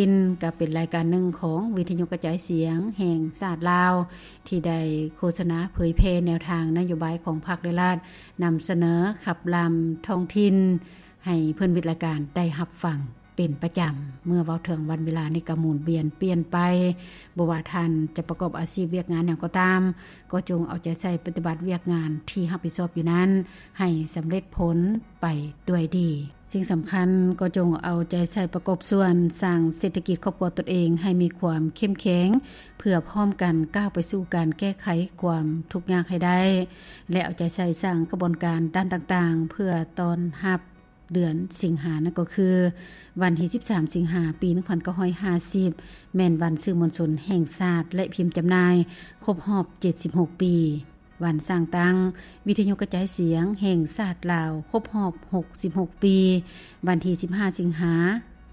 ຖິ່ນ ກໍເປັນລາຍການໜຶ່ງຂອງວິທະຍຸກະຈາຍສຽງແຫ່ງຊາດລາວ ທີ່ໄດ້ໂຄສະນາເຜີຍແຜ່ແນວທາງນະໂຍບາຍຂອງພັກ ແລະ ລັດ, ນຳສະເໜີຂັບລຳທ້ອງຖິ່ນ ໃຫ້ເພື່ອນມິດລາຍການໄດ້ຮັບຟັງເປັນປະຈຳ. ເມື່ອເວົ້າເຖິງວັນເວລານີ້ກໍໝູນວຽນປ່ຽນໄປ, ບໍ່ວ່າທ່ານຈະປະກອບອາຊີບວຽກງານຫຍັງກໍຕາມ, ກໍຈົ່ງເອົາໃຈໃສ່ປະຕິບັດວຽກງານທີ່ຮັບຜິດຊອບຢູ່ນັ້ນ ໃຫ້ສຳເລັດຜົນໄປດ້ວຍດີ. ສິ່ງສຳຄັນກໍຈົ່ງເອົາໃຈໃສ່ປະກອບສ່ວນສ້າງເສດຖະກິດຄອບຄົວຕົນເອງໃຫ້ມີຄວາມເຂັ້ມແຂງ, ເພື່ອພ້ອມກັນກ້າວໄປສູ່ການແກ້ໄຂຄວາມທຸກຍາກໃຫ້ໄດ້ ແລະ ເອົາໃຈໃສ່ສ້າງຂະບວນການດ້ານຕ່າງໆ ເພື່ອຕ້ອນຮັບເດືອນສິງຫາ ນັ້ນກໍຄື ວັນທີສິບສາມ ສິງຫາ ປີໜຶ່ງພັນເກົ້າຮ້ອຍຫ້າສິບ ແມ່ນວັນສື່ມວນຊົນແຫ່ງຊາດ ແລະ ພິມຈຳໜ່າຍຄົບຮອບເຈັດສິບຫົກປີ, ວັນສ້າງຕັ້ງວິທະຍຸກະຈາຍສຽງແຫ່ງຊາດລາວຄົບຮອບຫົກສິບຫົກປີ, ວັນທີສິບຫ້າ ສິງຫາ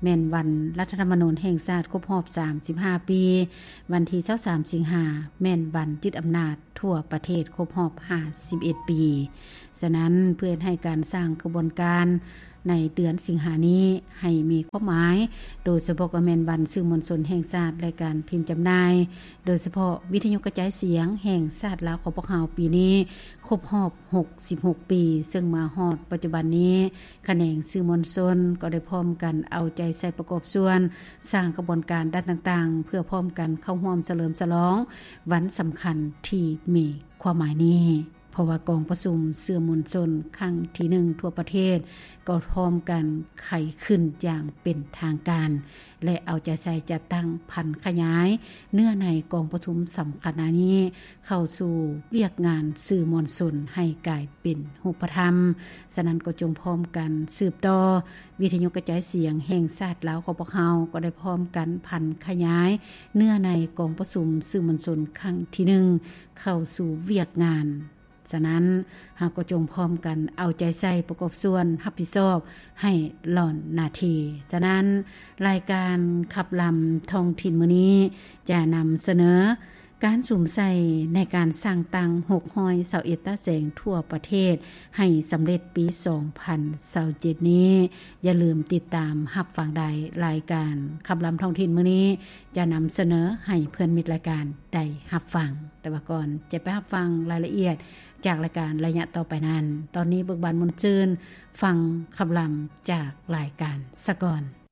ແມ່ນວັນລັດຖະທຳມະນູນແຫ່ງຊາດຄົບຮອບສາມສິບຫ້າປີ, ວັນທີຊາວສາມ ສິງຫາ ແມ່ນວັນຍຶດອຳນາດທົ່ວປະເທດຄົບຮອບຫ້າສິບເອັດປີ. ສະນັ້ນ ເພື່ອເຮັດໃຫ້ການສ້າງຂະບວນການໃນເດືອນສິງຫານີ້ໃຫ້ມີຄວາມໝາຍ, ໂດຍສະເພາະກໍແມ່ນວັນສື່ມວນຊົນແຫ່ງຊາດ ແລະ ການພິມຈຳໜ່າຍ, ໂດຍສະເພາະວິທະຍຸກະຈາຍສຽງແຫ່ງຊາດລາວຂອງພວກເຮົາປີນີ້ຄົບຮອບຫົກສິບຫົກປີ, ເຊິ່ງມາຮອດປັດຈຸບັນນີ້ ຂະແໜງສື່ມວນຊົນກໍໄດ້ພ້ອມກັນເອົາໃຈໃສ່ປະກອບສ່ວນສ້າງຂະບວນການດ້ານຕ່າງໆ ເພື່ອພ້ອມກັນເຂົ້າຮ່ວມສະເຫຼີມສະຫຼອງວັນສຳຄັນທີ່ມີຄວາມໝາຍນີ້. ເພາະວ່າກອງປະຊຸມສື່ມວນຊົນຄັ້ງທີໜຶ່ງທົ່ວປະເທດ ກໍພ້ອມກັນໄຂຂຶ້ນຢ່າງເປັນທາງການ ແລະ ເອົາໃຈໃສ່ຈັດຕັ້ງຜັນຂະຫຍາຍເນື້ອໃນກອງປະຊຸມສຳຄັນອັນນີ້ເຂົ້າສູ່ວຽກງານສື່ມວນຊົນໃຫ້ກາຍເປັນຮູບປະທຳ. ສະນັ້ນກໍຈົ່ງພ້ອມກັນສືບຕໍ່, ວິທະຍຸກະຈາຍສຽງແຫ່ງຊາດລາວຂອງພວກເຮົາກໍໄດ້ພ້ອມກັນຜັນຂະຫຍາຍເນື້ອໃນກອງປະຊຸມສື່ມວນຊົນຄັ້ງທີໜຶ່ງເຂົ້າສູ່ວຽກງານ. ສະນັ້ນ ເຮົາກໍຈົ່ງພ້ອມກັນເອົາໃຈໃສ່ປະກອບສ່ວນຮັບຜິດຊອບໃຫ້ຫຼ້ອນໜ້າທີ່. ສະນັ້ນ ລາຍການຂັບລຳທ້ອງຖິ່ນມື້ນີ້ຈະນຳສະເໜີການສຸມໃສ່ໃນການສ້າງຕັ້ງຫົກຮ້ອຍຊາວເອັດຕາແສງທົ່ວປະເທດໃຫ້ສຳເລັດປີສອງພັນຊາວເຈັດນີ້. ຢ່າລືມຕິດຕາມຮັບຟັງໄດ້ ລາຍການຂັບລຳທ້ອງຖິ່ນມື້ນີ້ຈະນຳສະເໜີໃຫ້ເພື່ອນມິດລາຍການໄດ້ຮັບຟັງ. ແຕ່ວ່າກ່ອນຈະໄປຮັບຟັງລາຍລະອຽດ ຈາກລາຍການໄລຍະຕໍ່ໄປນັ້ນ, ຕອນນີ້ເບີກບານມ່ວນຊື່ນ ຟັງຄຳລຳຈາກລາຍການສະກ່ອນ.